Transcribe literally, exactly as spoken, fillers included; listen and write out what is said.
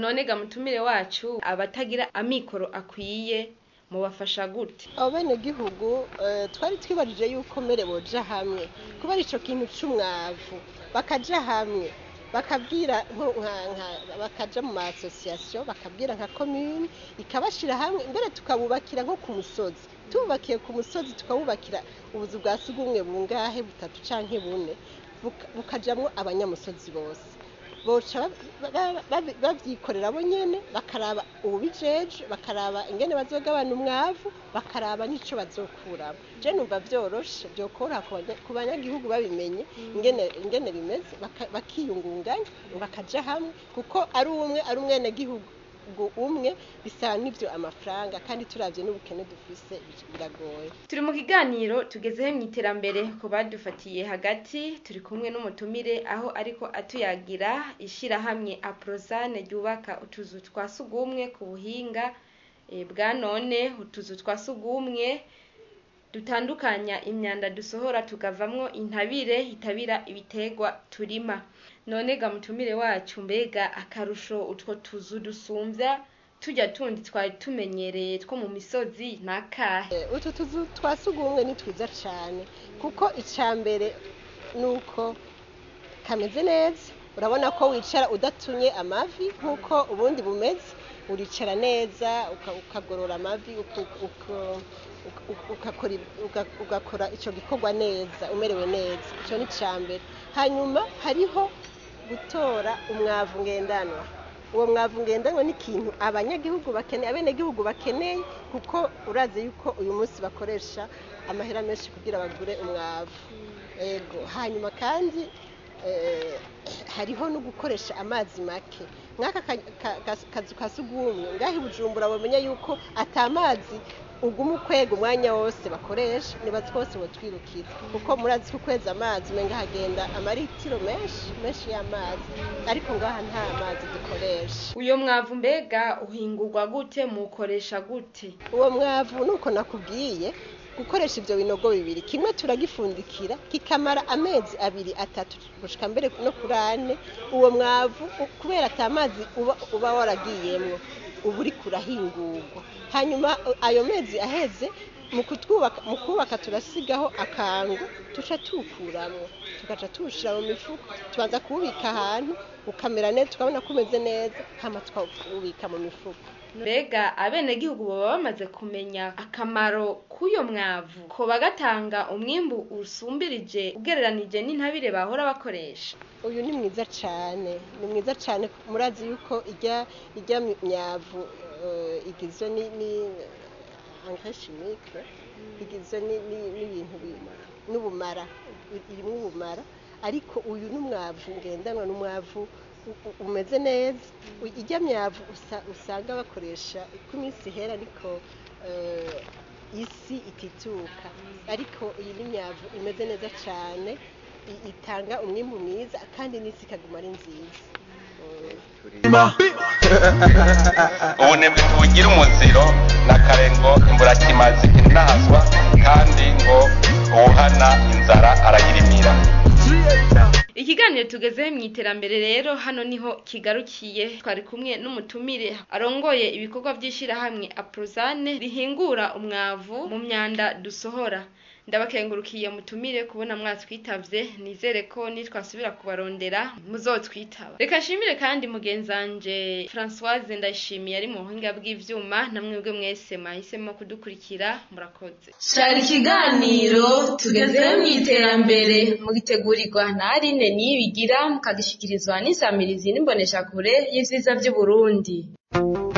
None ga mutumire wacu, abatagira amikoro akwiye mubafasha gute? Abenegihugu eh, twari twibajije yuko mbere boja hamwe kubera ico kintu c'umwavu, bakaja hamwe bakabwira nko- nka- nka- bakaja mu ma association, bakabwira nka commune ikabashira hamwe, mbere tukabubakira nko ku musozi. Tububakiye ku musozi, tukabubakira ubuzu bwa sugumwe bungahe, butatu canke bune, buka- bukajamwo abanyamusozi bose, boca ba- ba- ba- bavyikorera bo nyene, bakaraba uwubijeje, bakaraba ingene bazogabana umwavu, bakaraba n'ico bazokuramo. Je numva vyoroshe, vyokoroha ku banya- ku banyagihugu babimenye ingene ingene bimeze, baka- bakiyungunganya, bakaja hamwe, kuko ari umwe, ari umwenegihugu umwe, bisaba n'ivyo amafaranga, kandi turavye n'ubukene dufise biragoye. Turi mu kiganiro tugezeho mu iterambere. Ku badufatiye hagati, turi kumwe n'umutumire aho ariko atuyagira ishirahamwe Aprozane ryubaka utuzu twa sugumwe ku buhinga eh, bwa none, utuzu twa sugumwe dutandukanya imyanda dusohora tukavamwo intabire itabira ibiterwa turima. None ga mutumire wacu, mbega akarusho utwo tuzu dusumvya tujya tundi twari tumenyereye two mu misozi nakahe? Eh, utu tuzu twa sugumwe ni twiza cane, kuko ica mbere nuko kameze neza. Urabona ko wicara udatumye amavi nk'uko ubundi bumeze, uricara neza, uka- ukagorora amavi, uku- uku- uku- ugakora uga- ugakora ico gikorwa neza, umerewe neza. Ico ni ica mbere. Hanyuma hariho gutora umwavu ngendanwa. Uwo mwavu ngendanwa ni ikintu abanyagihugu bakeneye, abenegihugu bakeneye, kuko urazi yuko uyu munsi bakoresha amahera menshi kugira bagure umwavu. Ego. Hanyuma kandi eh, hariho no gukoresha amazi make. Nk'aka ka- ka- ka- kazu ka sugumwe ngaho i Bujumbura, bamenya yuko ata mazi uguma ukwega umwanya wose bakoresha, nibaza ko bose botwirukira, kuko murazi ko ukweza amazi umenga hagenda amaritiro menshi menshi y'amazi, ariko ngaha nta mazi dukoresha. Uyo mwavu mbega uhingurwa gute, muwukoresha gute? Uwo mwavu, nuko nakubwiye, gukoresha ivyo binogo bibiri, kimwe turagifundikira kikamara amezi abiri, atatu, gushika mbere no kuri ane. Uwo mwavu u- kubera ata mazi uba, uba waragiyemwo, uba uriko urahingurwa. Hanyuma u- ayo mezi aheze, mu kutwubaka, mu kubaka turasigaho akangu, tuca tuwukuramwo, tugaca tuwushira mu mifuko. Tubanza kuwubika ahantu ukamera neza, tukabona ko umeze neza, hama tukawubika mu mifuko. Mbega abenegihugu baba bamaze kumenya akamaro k'uyo mwavu, ko bagatanga umwimbu usumbirije ugereranije n'intabire bahora bakoresha? Uyu ni mwiza cane, ni mwiza cane. Murazi yuko ijya ijya myavu eh, igizwe ni, ni engrais chimique, igizwe ni- ni- n'ibintu bi- n'ubumara, irimwo ubumara, ariko uyu n'umwavu ngendanwa, n'umwavu u- u- umeze neza. U- ijya myavu usa, usanga bakoresha uko iminsi ihera, ariko eh, isi itituka, ariko iyi ni myavu imeze neza cane, i- itanga umwimbu mwiza kandi n'isi ikaguma ari nziza. Mm. Ubunebwe tubugira umuziro na kare, ngo imburakimazi intaswa, kandi ngo uwuhana inzara arayirimira. Ikiganiro tugezeho mu iterambere rero hano niho kigarukiye. Twari kumwe n'umutumire arongoye ibikorwa by'ishyirahamwe Aprozane rihingura umwavu mu myanda dusohora. Ndabakengurukiye mutumire kubona mwatwitavye, nizere ko nitwasubira kubarondera muzotwitaba. Reka nshimire kandi mugenzanje Françoise Ndayishimiye ari mu buhinga bw'ivyuma, namwebwe mwese mwahisemo kudukurikira, murakoze. Shara ikiganiro tugezeho mu iterambere mugitegurirwa na Aline Niyibigira, mukagishikirizwa n'isamirizi n'imboneshakure y'ivyiza vy'Uburundi.